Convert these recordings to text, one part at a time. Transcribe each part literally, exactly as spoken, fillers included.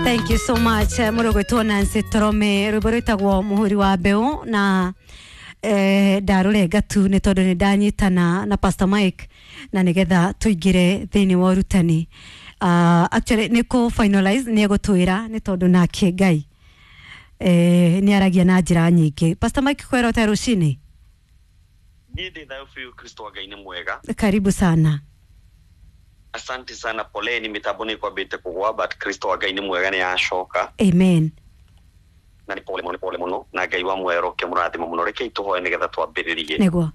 Thank you so much mũrũgwĩtwo Nancy Torome, rwĩmbo rwĩtagwo mũhũri wa mbeũ. Na eh, ndarũrenga tu nĩ tondũ nĩ ndanyitana na Pastor Mike na nĩgetha tũingĩre thĩinĩ wa ũrutani. uh, actually nĩ kũ finalize nĩ egũtwĩra nĩ tondũ nake Ngai eh, nĩ aragia na njĩra nyingĩ. Pastor Mike, kwĩra ũte rũcinĩ? Niĩ ndĩ thayũ biũ, Kristo wa Ngai nĩ mwega. Karibu sana. Asante sana. Poleni, mitambo nĩ kwambĩte kũgwa, but Kristo wa Ngai nĩ mwega, nĩ yacoka. Amen. Na nĩ pole mũno, nĩ pole mũno, na Ngai wa muoyo roke mũrathimo mũno. Rekei tũhoe nĩgetha twambĩrĩrie. Nĩguo.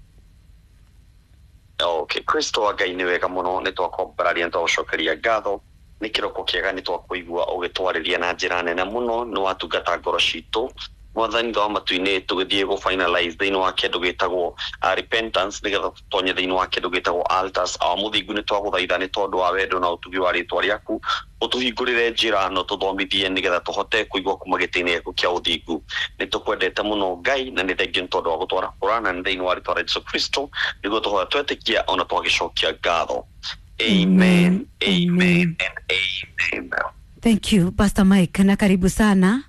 Okay, Kristo wa Ngai, nĩ wega mũno, nĩ twakwambararia, nĩ twagũcokeria ngatho nĩ kĩroko kĩega, nĩ twakũigua ũgĩtwarĩria na njĩra nene mũno, nĩ watungata ngoro citũ. Mwathani wa matu-inĩ, tũgĩthiĩ gũ finalize thĩinĩ wa kĩndũ gĩtagwo uh, repentance, nĩgetha tũtonye thĩinĩ wa kĩndũ gĩtagwo altars. Awa mũthingu, nĩ twagũthaitha nĩ tondũ wa wendo na ũtugi wa rĩtwa rĩaku, ũtũhingũrĩre njĩra na ũtũthomithie nĩgetha tũhote kũigua kuma gĩtĩ-inĩ gĩaku kĩa ũthingu. Nĩ tũkwendete mũno Ngai, na nĩ thengiũ nĩ tondũ wa gũtwara kũra, na nĩ thĩinĩ wa rĩtwa rĩa Jesu Kristo nĩguo tũhoya, twetĩkia ona twagĩcokia ngatho. Amen, amen and amen. Thank you, Pastor Mike, na karibu sana.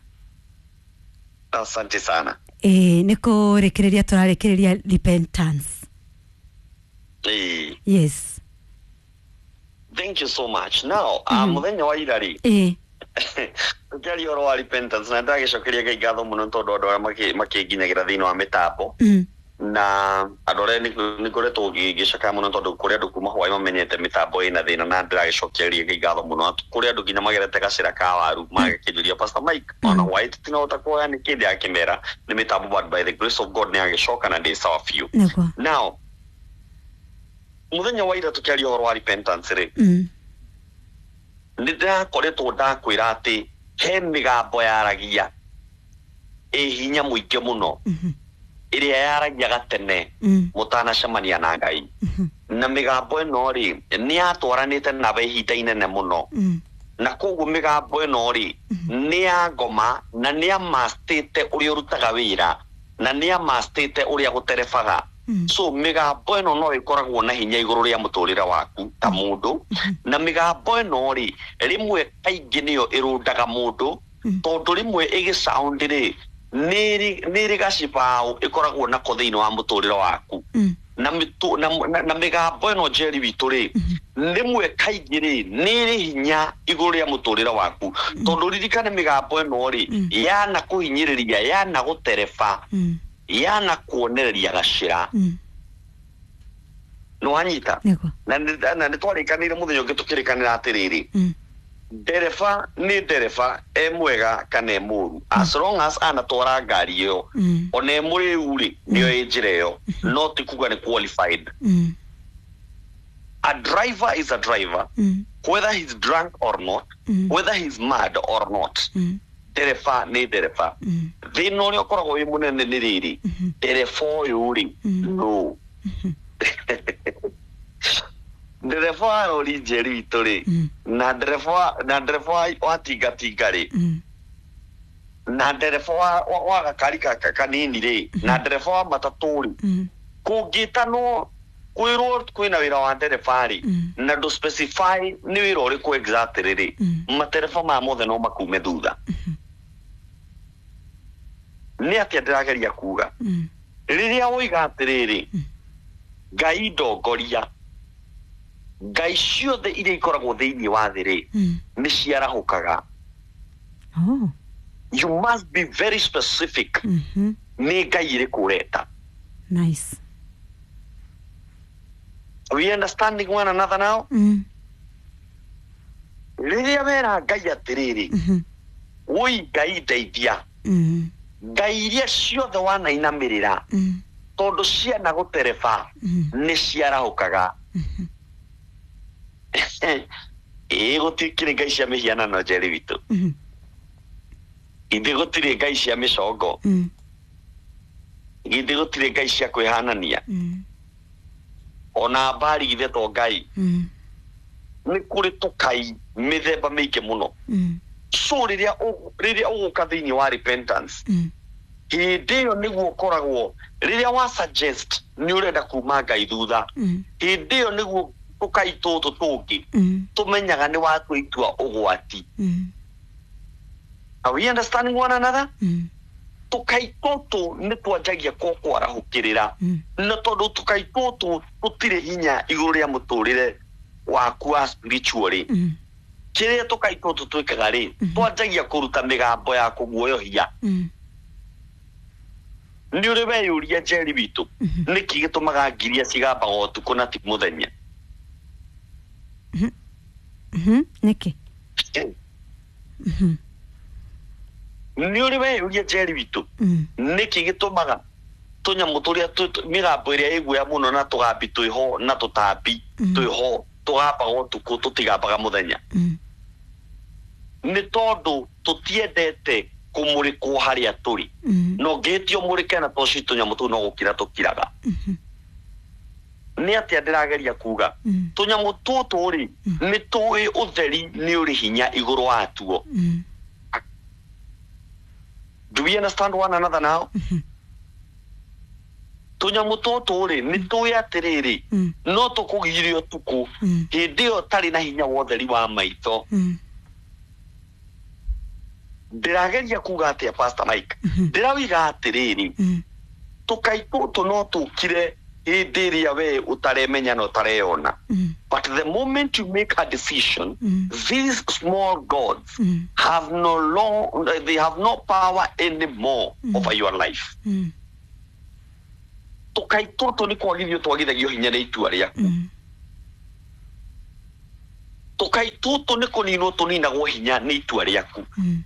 Asante sana. Ĩ, nĩ kũrĩkĩrĩria tũrarĩkĩrĩria repentance. Ĩĩ. Yes. Thank you so much. Now, uh, mũthenya wa ira rĩ, ĩ tũkĩaria ũhoro wa repentance, na ndagĩcokeria Ngai ngatho mũno nĩ tondũ andũ arĩa makĩ- makĩnginyagĩra thĩinĩ wa mĩtambo mm. na andũ arĩa nĩ ngoretwo ngĩcakaya mũno tondũ kũrĩ andũ kuma hwaĩ mamenyete mĩtambo ĩna thĩna, na ndĩragĩcokeria Ngai ngatho mũno. Kũrĩ andũ nginya magerete gacĩra ka waru magakĩnjũria, "Pastor Mike, ona hwaĩ tũtinahota kuoya nĩ kĩndĩ?" Akĩmera nĩ mĩtambo, but by the grace of God nĩ agĩcoka na ndĩ sawa biũ. Nĩguo. Now, mũthenya wa ira tũkĩaria ũhoro wa repentance rĩ, mm. nĩ ndĩrakoretwo ndakwĩra atĩ he mĩgambo yaragia ĩ hinya mũingĩ mũno, Mhm. ĩrĩa yaragia gatene Mm. mũtanacemania na Ngai, Mhm. na mĩgambo ĩno rĩ, nĩ yatwaranĩte nawe ihinda inene mũno, Mm. na koguo mĩgambo ĩno rĩ, nĩ ya ngoma na nĩ amastĩte ũrĩa ũrutaga wĩra na nĩ amastĩte ũrĩa gũterebaga. Mm. So mĩgambo ĩno no ĩkoragwo na hinya igũrũ rĩa mũtũrĩre waku ta mũndũ, na mĩgambo ĩno rĩ, rĩmwe kaingĩ nĩyo ĩrũndaga mũndũ, Mm. tondũ rĩmwe ĩgĩsound rĩ, nĩ ĩrĩ nĩ ĩrĩ gacibaũ ĩkoragwo nako thĩinĩ wa mũtũrĩre waku. Mm. na mĩtũ- na, na, na mĩgambo ĩno, njeri witũ rĩ, rĩmwe kaingĩ rĩ, nĩ ĩrĩ hinya igũrũ rĩa mũtũrĩre waku, tondũ ririkane mĩgambo ĩno rĩ, Mm. yana kũhinyĩrĩria, yana gũtereba, Mm. yana kuonereria gacĩra. Mm. Nĩ wanyita? Nĩguo. Na nĩ na nĩ twarĩkanĩire mũthenya ũngĩ tũkĩrĩkanĩra atĩrĩrĩ, Mm. ndereba nĩ ndereba, e mwega kana e mũru, as long as anatwara ngari ĩyo, Mm. ona e mũrĩu rĩ, nĩyo ĩ njĩra ĩyo, no ti kuga nĩ qualified. Mm. A driver is a driver, Mm. whether he's drunk or not, Mm. whether he's mad or not. Mm. Ndereba nĩ ndereba. Mm. Thĩna ũrĩa ũkoragwo wĩ mũnene nĩ rĩrĩ, Mhm. ndereba ũyũ rĩ, Mm. no ndereba wa rori, njeri witũ rĩ, Mm. na ndereba wa- na ndereba wa- wa tingatinga rĩ, Mm. na ndereba wa, wa, wa gakari ka- ka- kanini rĩ, na ndereba wa matatũ rĩ, Mm. kũngĩtanwo kwĩrwo kwĩna wĩra wa ndereba rĩ, Mm. na ndũ specify nĩ wĩra ũrĩkũ exactly rĩ, Mm. matereba maya mothe no makume thutha. Nĩ atĩa ndĩrageria kuga? Mm. Rĩrĩa woiga atĩrĩrĩ, "Ngai ndongoria," ngai ciothe iria ikoragwo thĩinĩ wa thĩ rĩ, Mm. nĩ ciarahũkaga. Oh. You must be very specific. Mhm. Nĩ ngai ĩrĩkũ ũreta? Nice. We understanding one another now? Mm. Rĩrĩa wera Ngai atĩrĩrĩ, Mhm. "Woi Ngai ndeithia," Mm. ngai iria ciothe wanainamĩrĩra, Mm. tondũ ciana gũtereba, Mm. nĩ ciarahũkaga. Ĩĩ, gũtikĩrĩ ngai cia mĩhianano, njeri witũ. Mhm. Ithe gũtirĩ ngai cia mĩcongo. Mm. Githĩ gũtirĩ ngai cia kwĩhanania? Mm. Ona mbari githĩ to ngai? Mm. Nĩ kũrĩ tũkai mĩthemba mĩingĩ mũno. Mm. So rĩrĩa ũ- rĩrĩa ũgũka thĩinĩ wa repentance, Mm. hĩndĩ ĩyo nĩguo ũkoragwo rĩrĩa wa suggest nĩ ũrenda kuma ngai thutha, Mm. hĩndĩ ĩyo nĩguo tũkai tũtũ tũngĩ Mm. tũmenyaga nĩ watua itua ũgwati. Mm. Are we understanding one another? Mm. Tũkai tũtũ nĩ twanjagia kũkwarahũkĩrĩra Mm. na tondũ tũkai tũtũ tũtirĩ hinya igũrũ rĩa mũtũrĩre waku wa spiritually Mm. kĩrĩa tũkai tũtũ twĩkaga rĩ twanjagia kũruta mĩgambo ya kũguoyohia. Mm. Nĩ ũrĩ weyũria Njeri witũ nĩkĩ gĩtũmaga ngiria cigambaga ũtukũ na ti mũthenya? Mhm. Nĩkĩ? Mhm. Nĩ ũrĩ weyũria Njeri witũ Mm. nĩkĩ gĩtũmaga tũnyamũ tũrĩa tũ- tũ- mĩgambo ĩrĩa ĩguoya mũno na tũgambi twĩho na tũtambi Mm. twĩho tũgambaga ũtukũ tũtigambaga mũthenya? Mm. Nĩ tondũ tũtiendete kũmũrĩkwo harĩa tũrĩ. Mm. Na ũngĩhĩtia ũmũrĩke na toci tũnyamũ tũu no gũkira tũkiraga. Mhm. Nĩ atĩa ndĩrageria kuga? Mm. Tũnyamũ tũtũ rĩ nĩ tũĩ ũtheri nĩ ũrĩ hinya igũrũ watuo. Mm. Do we understand one another now? Mhm. Tũnyamũ tũtũ rĩ nĩ tũĩ atĩrĩrĩ Mm. no tũkũgirie ũtukũ Mm. hĩndĩ ĩyo ũtarĩ na hinya wa ũtheri wa maitho. Mm. Ndĩrageria kuga atĩa, Pastor Mike? Mhm. Ndĩrauga atĩrĩrĩ, Mm. tũkai tũtũ no tũkire hĩndĩ ĩrĩa we ũtaremenya na ũtareyona, Mm. but the moment you make a decision, Mm. these small gods Mm. have no long they have no power anymore Mm. over your life. Mm. Tũkai tũtũ nĩ kwagithio twagithagio hinya nĩ itua rĩaku. Mm. Tũkai tũtũ nĩ kũninwo tũninagwo hinya nĩ itua rĩaku. Mm.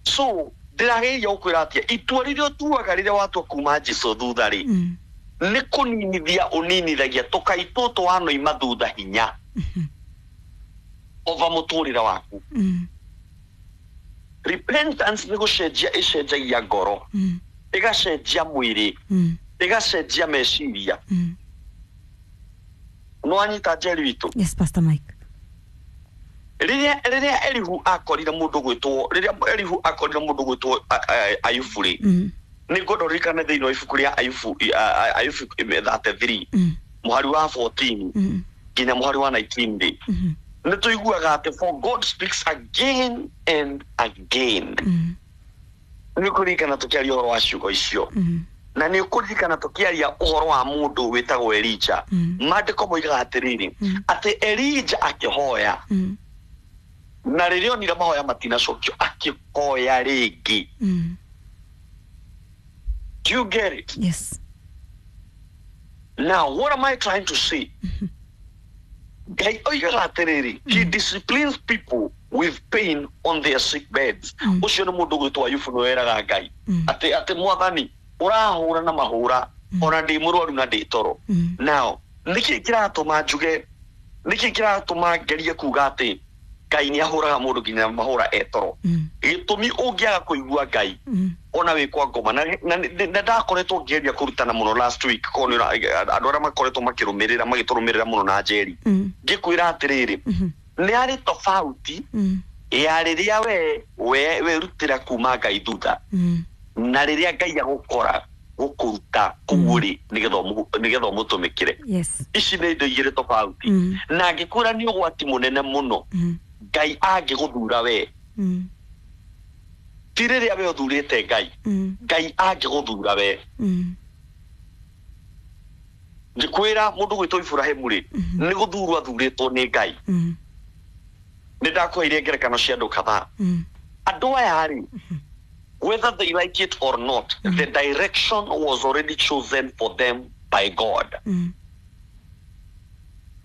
So ndĩrageria gũkwĩra atĩa, itua rĩrĩa ũtuaga rĩrĩa watua kuma Jesu thutha rĩ, Mm. nĩ kũninithia ũninithagia tũkai tũtũ wanoima thutha hinya Mhm. over mũtũrĩre waku. Mm. Repentance nĩ gũcenjia ĩcenjagia ngoro, Mm. ĩgacenjia mwĩrĩ, Mm. ĩgacenjia meciria. Mm. Nĩ wanyita, Njeri witũ? Yes, Pastor Mike. Rĩrĩa rĩrĩa Elihu akorire mũndũ gwĩtwo rĩrĩa Elihu akorire mũndũ gwĩtwo Ayubu rĩ, Mm. nĩ ngwenda ũririkane thĩinĩ wa ibuku rĩa Ayubu, a- a- Ayubu thirty-three Mm. mũhari wa fourteen Mm. nginya mũhari wa nineteen rĩ, Mhm. nĩ tũiguaga atĩ for God speaks again and again. Mm. Nĩ ũkũririkana tũkĩaria ũhoro wa ciugo icio? Mm. Na nĩ ũkũririkana tũkĩaria ũhoro wa mũndũ wĩtagwo Elija? Mm. Maandĩko moigaga atĩrĩrĩ, Mm. atĩ Elija akĩhoya, Mm. na rĩrĩa onire mahoya matinacokio akĩhoya rĩngĩ. Mm. Do you get it? Yes. Now what am I trying to say? Ngai oigaga atĩrĩrĩ, he disciplines people with pain on their sick beds. Mm. Ũcio nĩ mũndũ gwĩtwo Ayubu nĩ weraga Ngai Mm. atĩ atĩ mwathani ũrahũra na mahũra ona ndĩ mũrwaru na ndĩ toro. Mm. Now nĩkĩ kĩratũma njuge, nĩkĩ kĩratũma ngerie kuga atĩ Ngai nĩ ahũraga mũndũ nginya mahũra etoro? Mm. Gĩtũmi, ũngĩaga kũigua Ngai Mm. ona wĩ kwa ngoma, na na- na ndakoretwo ngĩgeria kũrutana mũno last week korwo nĩ ũra- andũ arĩa makoretwo makĩrũmĩrĩra magĩtũrũmĩrĩra mũno na Njeri, Mm. ngĩkwĩra atĩrĩrĩ, Mhm. nĩ harĩ tofauti Mm. ya rĩrĩa we we werutĩra kuma Ngai thutha Mm. na rĩrĩa Ngai agũkora gũkũruta kũu rĩ nĩgetha ũmũ- nĩgetha ũmũtũmĩkĩre. Yes. Ici nĩ indo igĩrĩ tofauti. Mm. Na ngĩkwĩra nĩ ũgwati mũnene mũno Mm. Ngai angĩgũthura we, Mm. ti rĩrĩa we ũthurĩte Ngai, Mm. Ngai angĩgũthura we. Mm. Ngĩkwĩra mũndũ gwĩtwo Iburahĩmu rĩ, nĩ gũthurwo athurĩtwo nĩ Ngai. Mm. Nĩ ndakũheire ngerekano cia andũ kadhaa. Mm. Andũ aya rĩ, whether they like it or not, the direction was already chosen for them by God. Mm.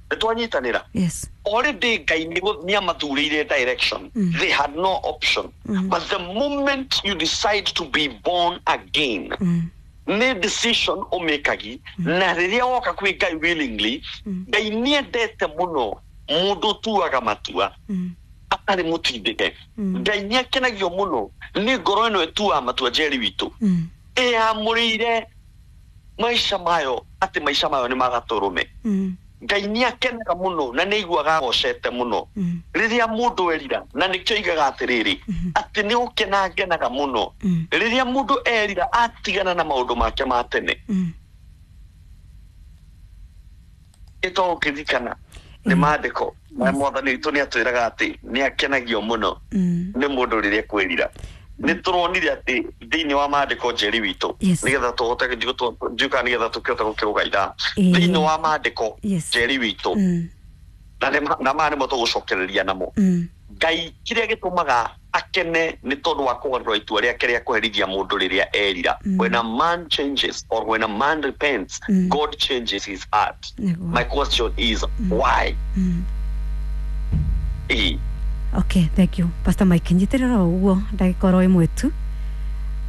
Nĩ twanyitanĩra? Yes. Already Ngai nĩ nĩ amathurĩire direction. Mm. They had no option. Mm. But the moment you decide to be born again, Mm. nĩ decision ũmĩkagi, na rĩrĩa woka kwĩ Ngai willingly, Mm. Ngai nĩendete mũno mũndũ ũtuaga matua Mm. atarĩ mũtindĩke. Mm. Ngai nĩ akenagio mũno nĩ ngoro ĩno ĩtuaga matua, Njeri witũ, Mm. ĩyamũrĩire maica mayo atĩ maica mayo nĩ magatũrũme. Mm. Ngai nĩ akenaga mũno na nĩ aiguaga agocete mũno Mm. rĩrĩa mũndũ erira, na nĩkĩo aigaga atĩrĩrĩ atĩ nĩ gũkena ngenaga mũno Mm. rĩrĩa mũndũ erira atigana na maũndũ make ma tene. Mm. Ĩtoo ũkĩririkana Nĩ maandĩko na Mwathani witũ nĩ atwĩraga atĩ nĩ akenagio mũno Mm. nĩ mũndũ rĩrĩa kwĩrira. Nĩ tũronire atĩ thĩinĩ wa maandĩko, Njeri witũ, Yes. nĩgetha tũhote njuka, nĩgetha tũkĩhote gũkĩrũga ithaa, Ĩĩ. thĩinĩ wa maandĩko, Yes. Njeri witũ, Mm. na nĩ- na maya nĩmo tũgũcokereria namo. Mm. Ngai kĩrĩa gĩtũmaga akene nĩ tondũ wa kũgarũra itua rĩake rĩa kũherithia mũndũ rĩrĩa erira. Mm. When a man changes or when a man repents, Mm. God changes his heart. Nĩguo. My question is, why? Mm. Ĩĩ. Okay, thank you, Pastor Mike. Nyitĩrĩra o ũguo ndagĩka oro ĩmwe tu.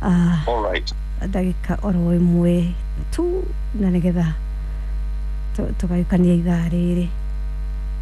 Ah, All right. Ndagĩka oro ĩmwe tu na nĩgetha tũ- tũgayũkania ithaa rĩrĩ.